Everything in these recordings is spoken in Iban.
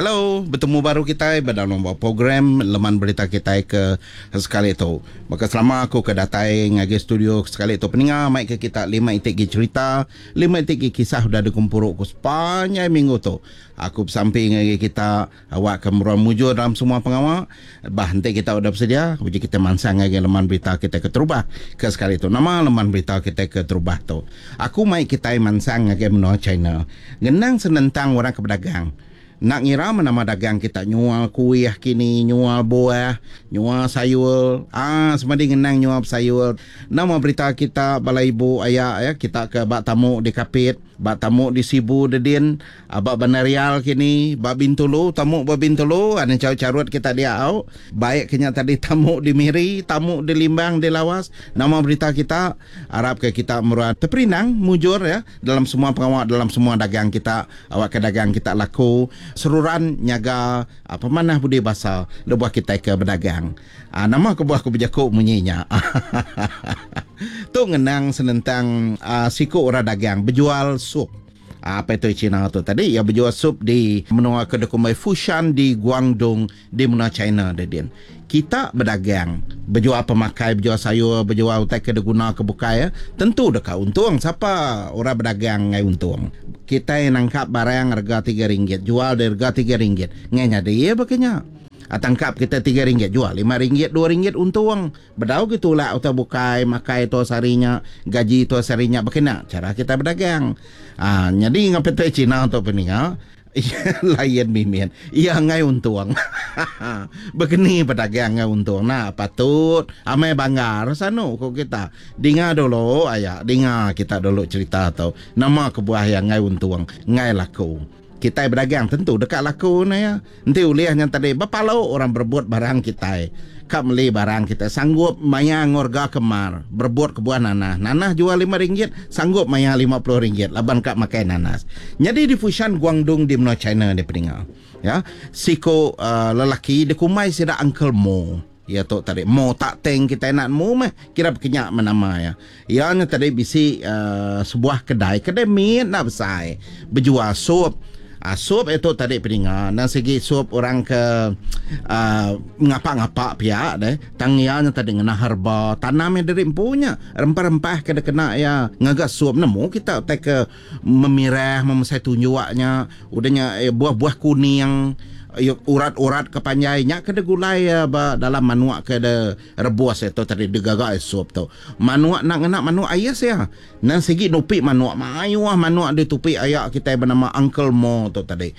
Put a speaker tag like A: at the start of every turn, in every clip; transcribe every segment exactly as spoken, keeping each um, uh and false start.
A: Hello, betemu baru kitai ba dalam program Leman Berita kitai ke sekali tu. Baka selama aku ke datai ngagai studio sekali tu peninga mai ke kita lima iti gi cerita, lima iti gi kisah udah dikumpuru ku sepanjai minggu tu. Aku besampi ngagai kita awak ke meruan mujur dalam semua pengawa. Bah enti kita udah bersedia, uji kita mansang ngagai leman berita kita keterubah ke sekali tu. Nama leman berita kita keterubah tu? Aku mai kitai mansang ngagai menua China. Ngenang senentang orang ke bedagang. Enda ngira meh nama dagang kita nyual kuih kini, nyual buah, nyual sayur. Aa semadi ngenang nyual besayur. Nama berita kita bala ibu aya ya kita ke ba tamu di Kapit, ba tamu di Sibu dedin, ba Bandar Rial kini, ba Bintulu, tamu ba Bintulu, anu charut-charut kita dia au. Baik ke nya tadi tamu di Miri, tamu di Limbang, di Lawas. Nama berita kita? Arap ke kita meruan teperindang mujur ya dalam semua pengawa, dalam semua dagang kita. Awakka dagang kita laku, seruran nyaga pemanah budi basa lebuh kitai ke bedagang. Nama kebuah aku bejaku munyi nya? Tu ngenang senentang siku orang dagang bejual sup. Apa itu China tu tadi? Iya bejual sup di menua ke dikumbai Fushan di Guangdong di menua China dedin. Kita bedagang, bejual pemakai, bejual sayur, bejual utai ke diguna ke bukai, tentu deka untung. Sapa orang bedagang ngai untung? Kitai nangkap barang rega tiga ringgit, jual di rega tiga ringgit. Ngai nyadi iya baka nya. Tangkap kita tiga ringgit, jual lima ringgit, dua ringgit untung. Bedau ke tulak utai bukai, makai tua sehari nya, gaji tua sehari nya, baka nya cara kita bedagang. Ah, nyadi ngau P T Cina tu peninga, lain mimit. Iya ngai untung. Begeni bedagang ngai untung. Nah, patut amai banggar sanu ko kita. Dinga dulu aya, dinga kita dulu cerita tu. Nama kebuah iya ngai untung, ngai laku. Kitai bedagang tentu deka laku ne ya. Enti ulih nya tadi bepalu orang berebut barang kitai. Ka meli barang kitai sanggup maya ngorga ke mar berebut ke buah nanas. Nanas jual lima ringgit sanggup maya lima puluh ringgit laban ka makai nanas. Nyadi di Fushan Guangdong di menua China ni peninga. Ya, siku uh, lelaki dikumbai sida Uncle Mo. Ya tu tadi Mo tak teng kitai nak nemu meh kira bekenyak meh nama ya. Iya nya tadi bisi uh, sebuah kedai, kedai mit enda besai bejual sup. Uh, sup itu tadi peninga nang sigi sup orang ke uh, ngapa-ngapa pia deh. Tang iya nya tadi ngena herba tanam yang diri empu nya. Rempah-rempah ke dikena iya ngaga sup nemu kita utai ke memirah memesai tunjuknya udah nya eh, buah-buah kuning urat-urat ke panjai nya ke digulai ba dalam manuk ke de rebus itu tadi digaga sup tu. Manuk nak ngena manuk ais ya. Nang sigi nupi manuk mayuh manuk ditupi aya kitai bernama Uncle Mo tu tadi.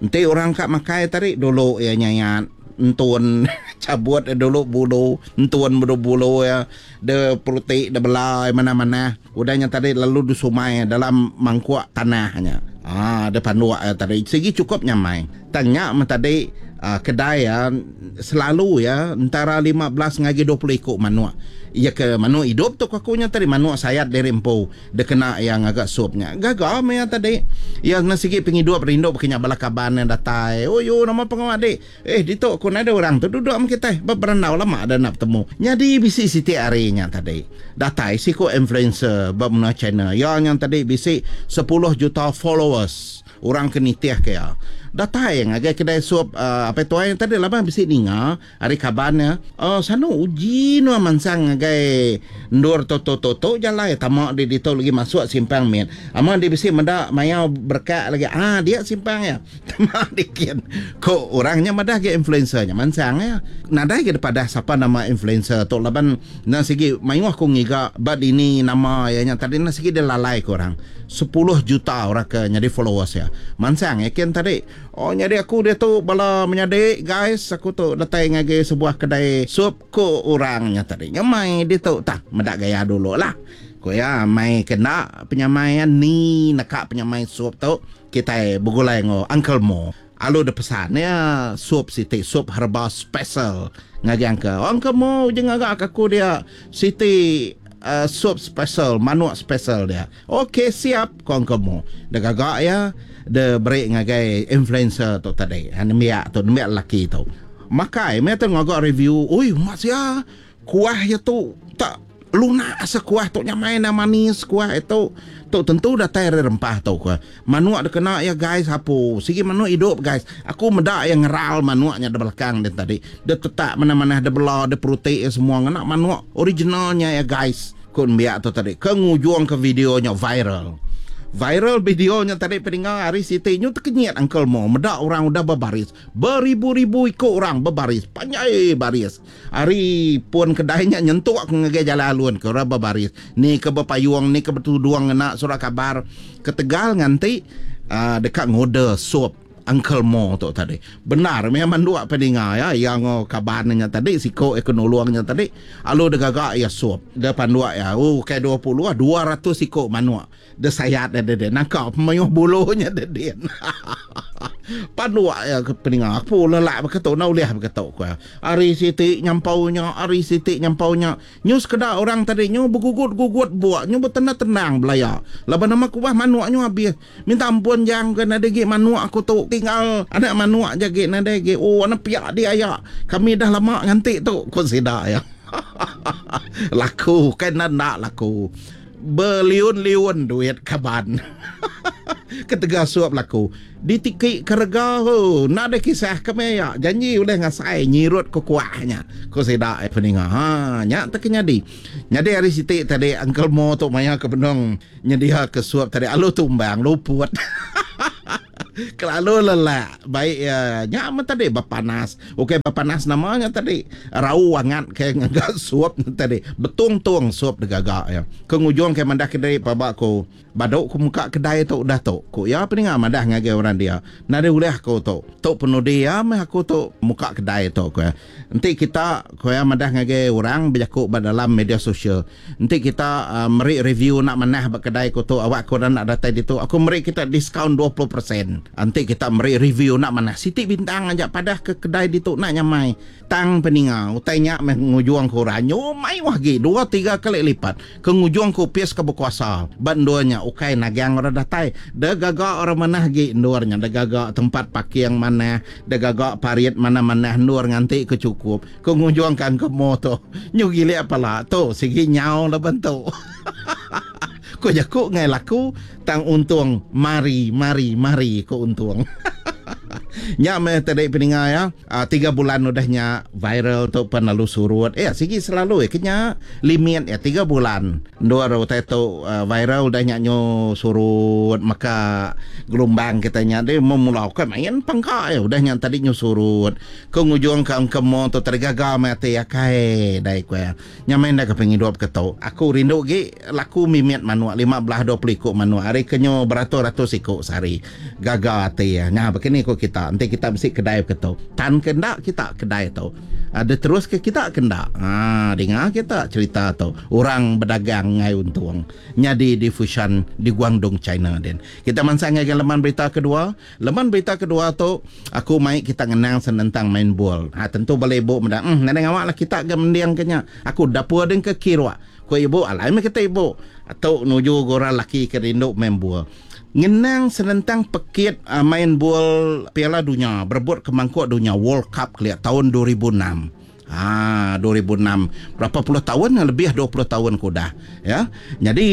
A: Enti orang ka makai tadi dulu iya nyayat entun cabut dulu bulu entun bulu bulu ya de perutik de belai mana-mana udahnya tadi lalu disumai dalam mangkuk tanahnya. Ah, de panduk ya tadi sigi cukup nyamai. Tanya mah tadi uh, kedai ya selalu ya antara lima belas ngagai dua puluh iku manuk. Iya ke manuk hidup tu aku nya tadi manuk sayat diri empu dikena yang agak supnya. Gaga meh tadi. Ya ngena sigi pengidup rindu bekenya bala kaban yang datai. Oh yo nama pengawa dik. Eh ditu aku nadai orang tu duduk am kitai berandau lama dah nak betemu. Nyadi bisi siti hari nya tadi. Datai siku influencer ba menua China. Ya yang tadi bisi sepuluh juta followers. Orang ke nitih ke ya. Datai ngagai kedai sup uh, apa tuai tadi laban bisi ninga hari kaban ya. Oh sanu uji nu mansang ngagai ndur to to to to jalai tama di ditu lagi masuk simpang mit. Ama di bisi meda mayau berkak lagi. Ah dia simpang ya. Tama dikin. Ko orangnya madah ge influencer nya mansang ya. Nadai ge padah siapa nama influencer tu laban na sigi mayuh ku ngiga bad ini nama ya nya tadi na sigi dia lalai ko orang. sepuluh juta orang ke nyadi followers ya. Mansang ya ken tadi. Oh nyadi aku dia tu bala menyadi guys aku tu datai ngagai sebuah kedai sup ko orangnya tadi. Nyamai dia tu tak medak gaya dulu lah. Ko ya mai kena penyamai ni neka penyamai sup tu kita begulai ngo Uncle Mo. Alu de pesan ya sup siti sup herba special ngagai Uncle. Uncle Mo je ngagak aku dia siti Uh, sup special, manuk special dia. Okey, siap ko Uncle Mo. Dia gagak ya, dia beri ngagai influencer tu tadi. Ha nembiak tu, nembiak lelaki tu. Makai, me tu ngagak review. Oi, mak sia, kuah ya tu tak Lunak asa kuah tu nyamai na manis kuah itu. Tu tentu datai ari rempah tu ku. Manuk dikena iya guys apu. Sigi manuk idup guys. Aku meda iya ngeral manuk nya di belakang din tadi. Dia tetak manah-manah dia bela dia peruti iya semua ngena manuk original nya iya guys. Ku nembiak tu tadi ke ngujung ke video nya viral. Viral video nya tadi peninga hari siti nyu tekenyit Uncle Mo meda orang udah bebaris. Beribu-ribu iku orang bebaris. Panjai baris. Ari pun kedai nya nyentuk ke ngagai jalai alun ke orang bebaris. Ni ke bepayung, ni ke betudung ngena surat kabar. Ketegal nganti uh, deka ngorder sup Uncle Mo tu tadi. Benar meh manduk peninga ya yang kaban nya tadi siko ke nulung nya tadi alu degaga ya sup. Dia panduk ya. Oh kai dua puluh dua ratus siko manuk. Dia sayat dia dia nangkap mayuh bulunya dia dia. Panduk ya ke peninga aku lelak beketu na ulih beketu ku. Ari siti nyampaunya, ari siti nyampaunya. Nyu sekeda orang tadi nyu begugut-gugut buak, nyu betendang-tendang belaya. Laban nama kuah manuk nyu habis. Minta ampun jang ke nadai gi manuk aku tu tinggal anak manuk je gi nadai gi. Oh anak piak dia ya. Kami dah lama nganti tu ku sida ya. Laku kan nak laku. Beliun-liun duit kaban. Ketegal suap laku. Ditiki kerega ho, nak ada kisah kami ya. Janji boleh ngasai nyirut ke kuahnya. Ku sida peninga. Ha, nya tak nyadi. Nyadi hari siti tadi Uncle Mo tu maya ke benung nyedia ke suap tadi alu tumbang luput. Kelalu lelak. Baik ya, nya amat tadi berpanas. Okey berpanas namanya tadi. Rau angat ke ngagak suap tadi. Betung-tung suap degagak ya. Ke ngujung ke mandah kedai pabak ku. Baduk ku muka kedai tu udah tu. Ku ya peninga madah ngagai orang dia. Nadai ulih aku tu. Tu penudi ya meh aku tu muka kedai tu ku ya. Enti kita ku ya madah ngagai orang berjakuk ba dalam media sosial. Enti kita uh, meri review nak manah ba kedai ku tu awak aku nak datai ditu aku meri kita diskaun dua puluh peratus. Enti kita meri review nak manah siti bintang aja padah ke kedai ditu nak nyamai. Tang peninga utai nya meh ngujung ku orang nyumai lagi dua tiga kali lipat ke ngujung ku pis ke berkuasa. Ba endurnya ukai nagang orang datai. De gagak orang manah gi endurnya, de gagak tempat parking manah, de gagak parit mana-mana endur nganti ke cukup. Ke ngujung kan ke mo tu. Nyu gilik pala tu sigi nyau la bentuk. Ku jaku ngai laku tang untung mari mari mari ku untung. Nya meh tadi peninga ya. Uh, tiga bulan udahnya viral tu pen lalu surut. Eh sigi selalu ya kenya limit ya tiga bulan. Dua utai tu uh, viral udahnya nyo surut maka gelombang kitanya dia memulau kan main pangka ya udahnya tadi nyo surut. Ke ngujung ke angkemo tu tergaga mati akai dai ku ya. Nya main dah ke pengidup ke tu. Aku rindu gi laku mimit manuk lima belas dua puluh ikut manuk hari kenyo beratus-ratus ikut sehari. Gaga ati ya. Nya begini ku kita. Nanti kita mesti kedai ke tu. Tan kendak kita kedai tu. Ada terus ke kita kendak. Ha, dengar kita cerita tu. Orang berdagang ngai untung. Nyadi di Fushan di Guangdong China den. Kita mansang ngagai leman berita kedua. Leman berita kedua tu aku mai kita ngenang senentang main bol. Ha tentu bala ibu meda. Hmm nadai ngawak lah kita ke mendiang kenya. Aku dapur den ke kirua. Ku ibu alai meh kita ibu. Atau nuju orang laki ke rindu main bol. Ngenang senentang pekit uh, main bol Piala Dunia berebut ke mangkuk dunia World Cup keliat tahun dua ribu enam. Ah dua ribu enam berapa puluh tahun lebih dua puluh tahun kudah ya. Jadi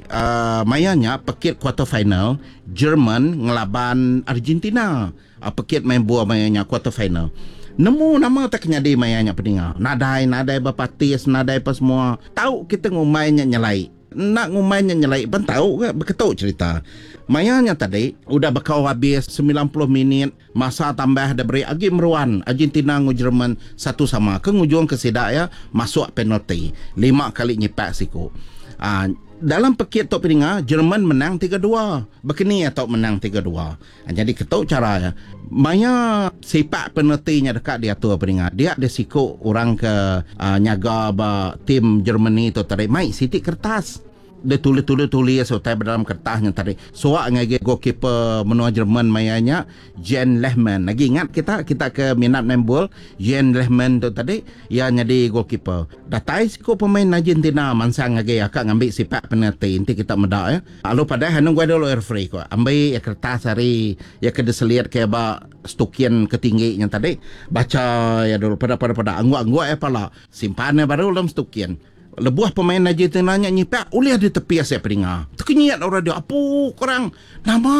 A: uh, mayanya pekit quarter final Jerman ngelaban Argentina. Uh, pekit main bol mayanya quarter final. Nemu nama tak nyadi mayanya peninga. Nadai nadai berpatis nadai apa semua. Tahu kita ngumainya nyelai. Nak ngumainya nyelai pun tahu ke beketuk cerita. Mayanya tadi udah bekau habis sembilan puluh minit masa tambah dah beri agi meruan Argentina ngu Jerman satu sama ke ngujung ke sidak ya masuk penalti lima kali nyipak siku. Ah dalam pekit tok peninga Jerman menang tiga dua. Bekeni atau menang tiga dua. Ha, jadi ketuk cara ya. Maya sepak penaltinya dekat diatur peninga. Dia ada siku orang ke uh, nyaga ba tim Germany tu tadi mai sitik kertas. Dia tulis-tulis-tulis utai dalam kertasnya tadi. Suak ngagai goalkeeper menua Jerman mayanya Jan Lehmann. Lagi ingat kita kita ke minat main bol Jan Lehmann tu tadi ia jadi goalkeeper. Datai siku pemain Argentina mansang ngagai akak ngambil sepak penalti. Nanti kita medak ya. Lalu pada hanung gua dulu referee ko. Ambil ya kertas hari ya ke deseliat ke ba stukian ketingginya tadi. Baca ya dulu pada pada pada angguk-angguk ya pala. Simpan ya baru dalam stukian. Lebuh pemain Argentina nya nyipak ulih ditepis ya peninga. Tekenyit orang dia apu korang nama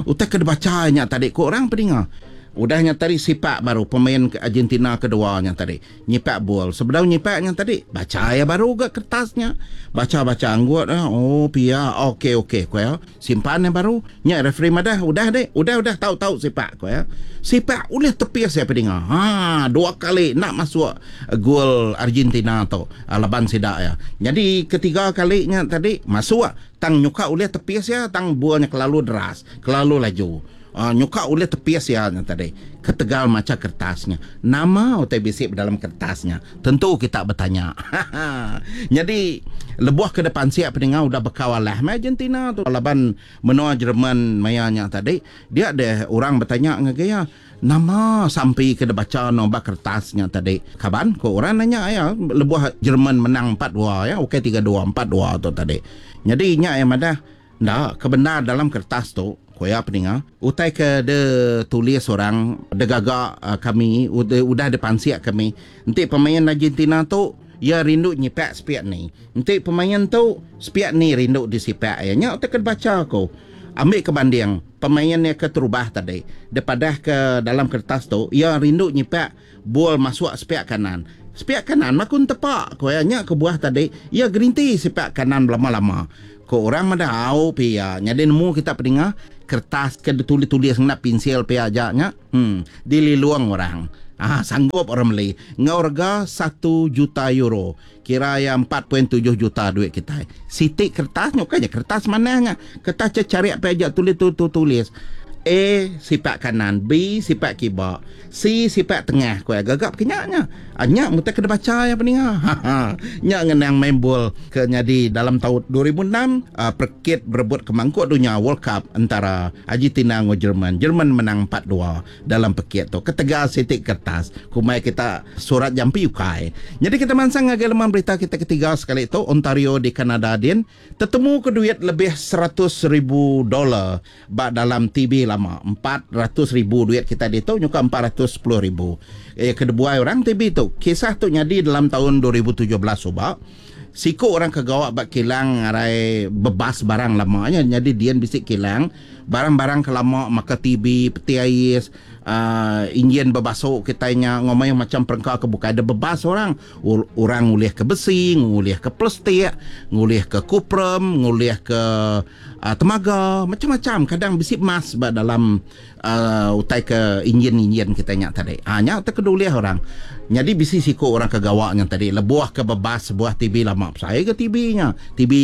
A: utai ke dibaca nya tadi ko orang peninga. Udah nya tadi sipak baru pemain Argentina kedua nya tadi nyipak bol. Sebedau nyipak nya tadi baca ya baru ga kertasnya. Baca-baca anggut oh pia okey okey ko ya. Simpan ya baru. Nya referee madah udah dek, udah udah tahu-tahu sipak ko ya. Sipak ulih tepis ya peninga. Ha dua kali nak masuk gol Argentina tu laban sida ya. Jadi ketiga kalinya tadi masuk tang nyuka ulih tepis ya tang bolnya kelalu deras, kelalu laju. Uh, nyuka ulih tepis ya tadi ketegal maca kertasnya. Nama utai bisi dalam kertasnya? Tentu kita bertanya. Jadi lebuh ke depan siap peninga udah bekau alah mai Argentina tu laban menua Jerman mayanya tadi dia ada orang bertanya ngagai ya nama sampai ke dibaca no ba kertasnya tadi. Kaban ko orang nanya ya lebuh Jerman menang empat dua ya okey tiga dua empat dua tu tadi. Jadi nya yang madah ndak kebenar dalam kertas tu koya peninga utai ke de tulis orang de gagak uh, kami udah, udah dipansiak kami enti pemain Argentina tu ya rindu nyipak sepiak ni enti pemain tu sepiak ni rindu disipak ya nya utai ke baca aku ambil ke banding pemain yang ke terubah tadi depadah ke dalam kertas tu ya rindu nyipak bol masuk sepiak kanan sepiak kanan makun tepak koya nya ke buah tadi ya gerinti sepiak kanan lama-lama ko orang madah au pia jadi nemu kita peninga kertas ke ditulis-tulis ngena pensil pia aja nya hmm dililuang orang ah sanggup orang beli ngau rega satu juta euro kira ya empat perpuluhan tujuh juta duit kita siti kertas nyoka je kertas manahnya kertas cari apa aja tulis tu tulis A sipak kanan, B sipak kiba, C sipak tengah. Ku gagap kenyaknya. Anya mutai kena baca ya peninga. Nya ngenang main bol ke nyadi dalam tahun dua ribu enam uh, perkit berebut ke mangkuk dunia World Cup antara Argentina dengan Jerman. Jerman menang empat dua dalam pekit tu. Ketegal sitik kertas. Kumai kita surat jampi ukai. Jadi kita mansang ngagai leman berita kita ketiga sekali tu Ontario di Kanada din tetemu ke duit lebih seratus ribu dolar bak dalam T B lama empat ratus ribu duit kita ditu nyuka empat ratus sepuluh ribu. Eh kedebuai orang T B tu. Kisah tu nyadi dalam tahun dua ribu tujuh belas subak. Siku orang kegawak bak kilang arai bebas barang lamanya jadi dia bisik kilang barang-barang kelama maka T B peti ais uh, enjin bebasuk kitanya ngomong macam perengka kebuka ada bebas orang orang ngulih ke besi ngulih ke plastik ngulih ke kuprum ngulih ke uh, temaga macam-macam kadang bisi emas ba dalam uh, utai ke enjin-enjin kitanya tadi ah nya terkedulih orang jadi bisi siku orang kegawaknya tadi lebuh ke bebas sebuah T B lama saya ke T B-nya T B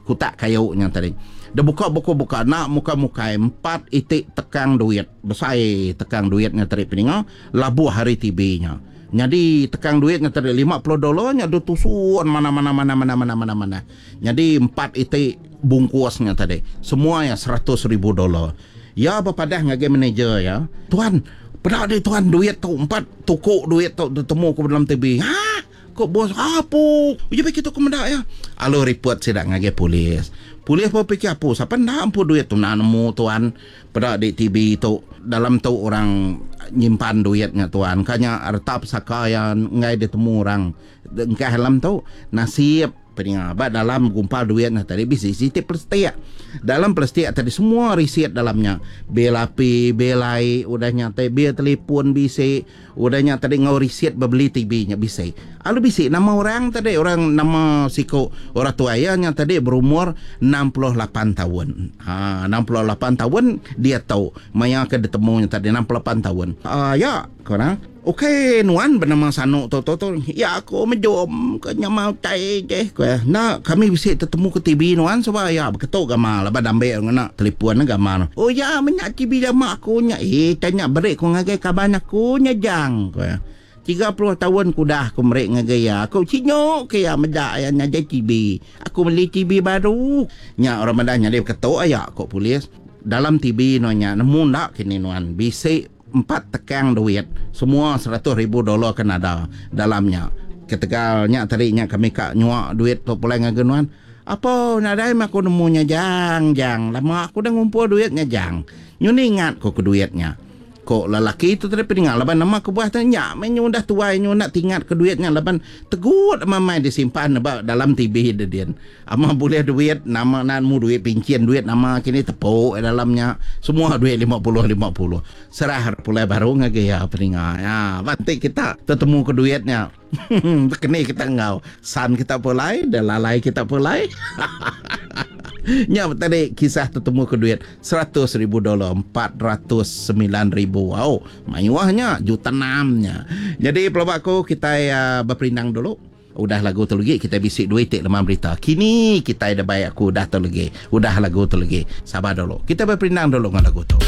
A: kutak kayunya tadi dia buka buku-buka nak muka-muka empat itik tekang duit besar tekang duitnya tadi peninga labuh hari T B-nya jadi tekang duitnya tadi lima puluh dolarnya dia tusun mana-mana mana mana mana mana mana jadi empat itik bungkusnya tadi semua ya seratus ribu dolar ya berpadah ngagai manager ya tuan pada dia tuan duit tu empat tokok duit tu temu ku dalam T B ha kok bos apa uji begitu ku mendak ya alo report sidak ngagai polis. Polis pun fikir apa siapa nak ampu duit tu nak nemu tuan pada di T B tu dalam tu orang nyimpan duitnya tuan kanya harta pusaka yang ngai ditemu orang engkau dalam tu nasib peninga ba dalam gumpal duitnya tadi bisi siti plastik dalam plastik tadi semua risit dalamnya bil api bil air udahnya tadi bil telefon bisi udahnya tadi ngau risit beli T B-nya bisi alu bisi nama orang tadi orang nama siko orang tua nya tadi berumur enam puluh lapan tahun ha enam puluh lapan tahun dia tahu maya ke ditemunya tadi enam puluh lapan tahun ah uh, ya korang okey nuan bernama Sanu tu tu tu ya aku mejom ke nyamau tai je ko nak kami bisi tetemu ke T B nuan sebab ya beketuk gamal laban ambil ngena telefon gamal oh ya menyak T B lama aku nya eh tanya berik ku ngagai kaban aku nya jang ko tiga puluh tahun ku dah aku merik ngagai ya aku cinyok ke ya medak ya nya T B aku beli T B baru nya orang madah nya dia beketuk aya kok polis dalam T B nonya nemu ndak kini nuan bisi empat tekang duit semua seratus ribu dolar Kanada dalamnya ketegalnya tadinya kami kak nyuak duit tu pulai ngagenuan apa nadai aku nemunya jang jang lama aku dah ngumpul duitnya jang nyuni ingat ko ke duitnya Ko lelaki tu tadi peninga laban nama kebuah tu nya meh nyu udah tuai nyu enda tingat ke duit nya laban tegut amai disimpan ba dalam T V de din. Ama bulih duit nama nan mu duit pinchin duit nama kini tepu dalam nya semua duit lima puluh lima puluh. Serah pulai baru ngagai iya peninga. Ya banti kita tetemu ke duit nya. Keni kita enggau san kita pulai dan lalai kita pulai. Nya tadi kisah tetemu ke duit seratus ribu dolar empat ratus sembilan ribu. Wow, mayuhnya juta enamnya. Jadi pelaba aku kita uh, berperindang dulu. Udah lagu tu lagi kita bisi duit tik lemah berita. Kini kita ada baik aku udah tu lagi. Udah lagu tu lagi. Sabar dulu. Kita berperindang dulu dengan lagu tu.